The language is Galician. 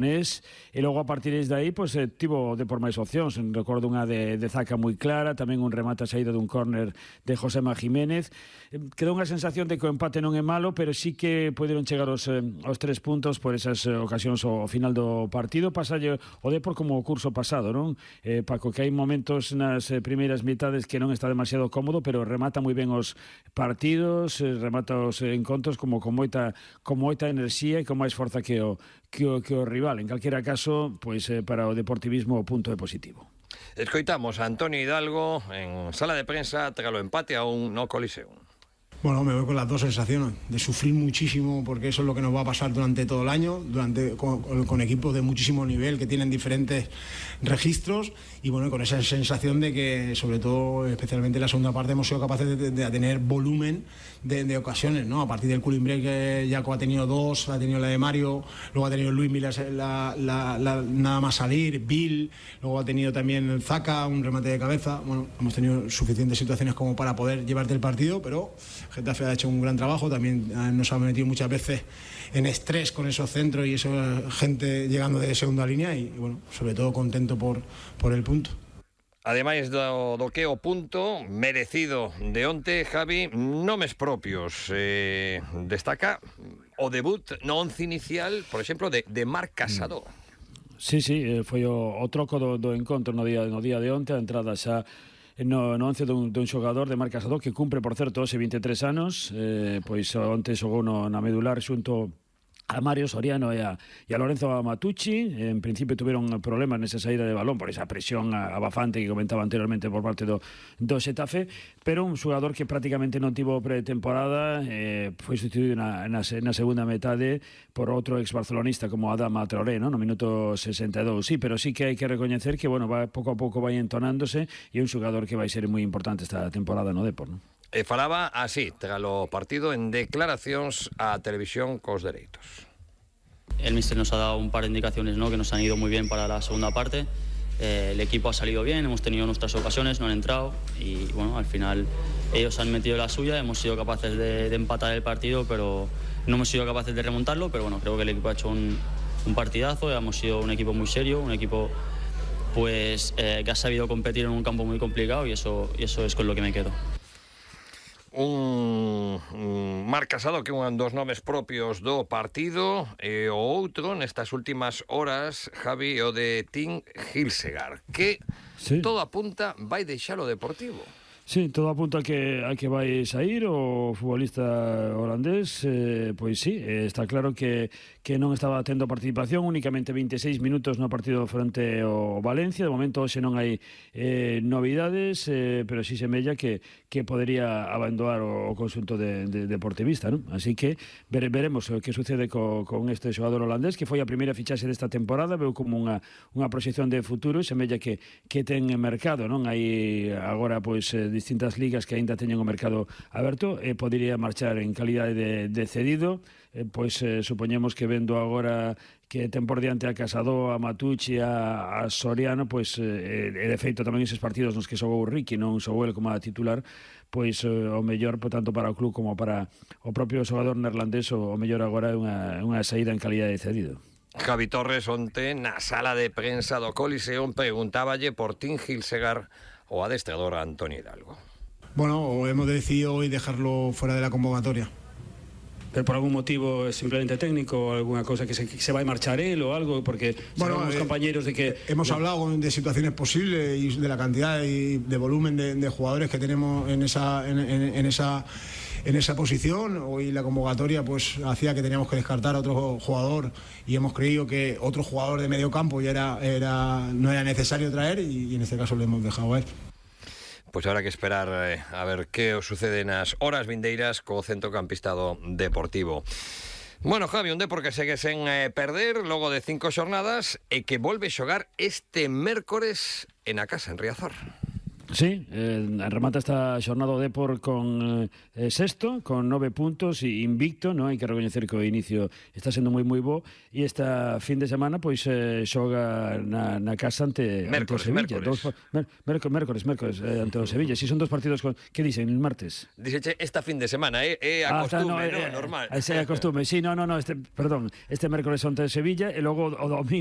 E logo a partir de aí pois, tivo de por máis opcións. Recordo unha de Zaca moi clara, tamén un remate a saída dun córner de Josema Jiménez. Quedou unha sensación de que o empate non é malo, pero sí que poderon chegar os 3 puntos por esas ocasións ao final do partido. Pasalle o Depor como o curso pasado, non? Paco, que hai momentos nas primeiras mitades que non está demasiado cómodo, pero remata moi ben os partidos, remata os encontros como con moita enerxía e con máis forza que o rival. En calquera caso, pois para o deportivismo o punto é positivo. Escoitamos a Antonio Hidalgo en sala de prensa tras o empate a un no Coliseum. Bueno, me voy con las dos sensaciones, de sufrir muchísimo porque eso es lo que nos va a pasar durante todo el año, con equipos de muchísimo nivel que tienen diferentes registros y bueno, con esa sensación de que sobre todo, especialmente en la segunda parte, hemos sido capaces de tener volumen de ocasiones, ¿no? A partir del cooling break Jaco ha tenido 2, ha tenido la de Mario, luego ha tenido Luis Milas nada más salir, Bill, luego ha tenido también Zaca, un remate de cabeza. Bueno, hemos tenido suficientes situaciones como para poder llevarte el partido, pero Getafe ha hecho un gran trabajo, también nos ha metido muchas veces en estrés con esos centros y esa gente llegando de segunda línea y bueno, sobre todo contento por el punto. Ademais do que o punto merecido de onte, Javi, nomes propios. Destaca o debut no once inicial, por exemplo, de Marc Casado. Sí, foi o troco do encontro no día de onte, a entrada xa no once dun xogador de Marc Casado que cumpre, por certo, hoxe 23 anos, pois onte xogou na medular xunto a Mario Soriano e a Lorenzo Matucci. En principio tuveron problemas nesa saída de balón por esa presión abafante que comentaba anteriormente por parte do Xetafe, pero un xogador que prácticamente non tivo pretemporada, foi sustituído na segunda metade por outro ex-barcelonista como Adama Traoré, no minuto 62. Sí, pero sí que hai que recoñecer que bueno, pouco a pouco vai entonándose e é un xogador que vai ser moi importante esta temporada no Depor, non? E falaba así, tras o partido, en declaracións á televisión cos dereitos. El míster nos ha dado un par de indicaciones, ¿no?, que nos han ido muy bien para la segunda parte. El equipo ha salido bien, hemos tenido nuestras ocasiones, no han entrado y bueno, al final ellos han metido la suya, hemos sido capaces de empatar el partido, pero no hemos sido capaces de remontarlo, pero bueno, creo que el equipo ha hecho un partidazo, hemos sido un equipo muy serio, un equipo pues que ha sabido competir en un campo muy complicado y eso es con lo que me quedo. Un Marc Casado que é un dos nomes propios do partido e o outro nestas últimas horas, Javi, o de Tim Hilsegaard, que sí, todo apunta vai deixar o Deportivo. Sí, todo apunta a que vai sair o futbolista holandés, pois sí, está claro que non estaba tendo participación, únicamente 26 minutos no partido frente ao Valencia. De momento hoxe non hai novidades, pero sí semella que podería abandonar o conxunto de deportivista, non? Así que veremos o que sucede con este xogador holandés, que foi a primeira fichaxe desta temporada, veu como unha proxección de futuro e semella que ten mercado, non? Hai agora pois distintas ligas que aínda teñen o mercado aberto e podería marchar en calidade de cedido, pois supoñemos que vendo agora que ten por diante a Casado, a Matucci, a Soriano, pois de feito tamén eses partidos nos que xogou Ricky, non xogou el como a titular, pois o mellor tanto para o club como para o propio xogador neerlandés, o mellor agora é unha saída en calidade de cedido. Javi Torres onte na sala de prensa do Coliseum preguntáballe por Tim Hilsegaard o adestrador Antonio Hidalgo. Bueno, hemos decidido hoy dejarlo fuera de la convocatoria. ¿Pero por algún motivo simplemente técnico, alguna cosa que se va a marchar él o algo? Porque sabemos compañeros de que... Hemos hablado de situaciones posibles y de la cantidad y de volumen de jugadores que tenemos en esa posición. Hoy la convocatoria pues hacía que teníamos que descartar a otro jugador y hemos creído que otro jugador de medio campo ya no era necesario traer y en este caso le hemos dejado a él. Pois habrá que esperar a ver que os sucede nas horas vindeiras co centrocampista do Deportivo. Bueno, Javi, un Depor que segue sen perder logo de 5 xornadas e que volve xogar este mércores en a casa, en Riazor. Sí, remata esta xornada o Depor con sexto, con 9 puntos e invicto, non? Hai que recoñecer que o inicio está sendo moi bo, e esta fin de semana pois xoga na casa ante o Sevilla. Mércores ante o Sevilla. Si son dos partidos que dicen el martes? Dixeche esta fin de semana, a costume, normal. Ese é a costume. Sí, no, este mércores ante o Sevilla e logo o domingo